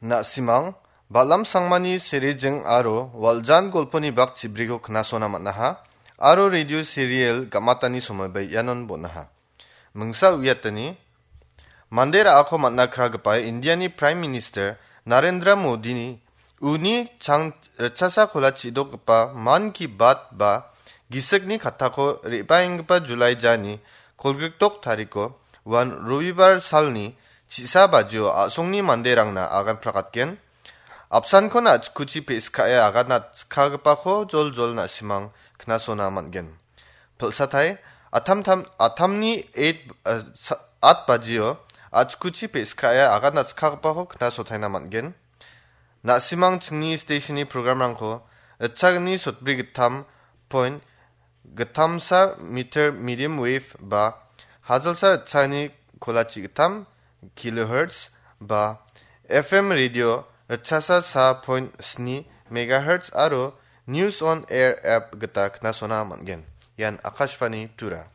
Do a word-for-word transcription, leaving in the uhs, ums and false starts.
Na·simang, Balam Sangmani serijing aro Waljan golponi bak chibriko knasona man·aha, aro radio serial gamatani somoiba ianon bon·aha. Mingsa uiatani, mande ra·ako man·a kragipa Indiani Prime Minister Narendra Modini uni chang ritchasa kola chidokgipa Man Ki Baat ba gisikni kattako re·baenggipa Julai jani kolgrikdok tariko uan Robibar salni chisa bajio a·songni manderangna agan prakatgen. Apsankon a·chikuchi pe·skae agan atskagipako joljol na·simang knasona man·gen. Pilsatai, atamtam-, atamni eight, eh, sa-, at bajio a·chikuchi pe·skae agan atskagipako knasotaina man·gen. Na·simang chingni stationni programrangko itchagni sotbri gittam point gittamsa meter medium wave ba hajalsa itchagni kolachi gittam kilohertz ba F M radio ritchasa sa point sni megahertz aro News on Air app gita knasona man·gen. Ian Akashvani Tura.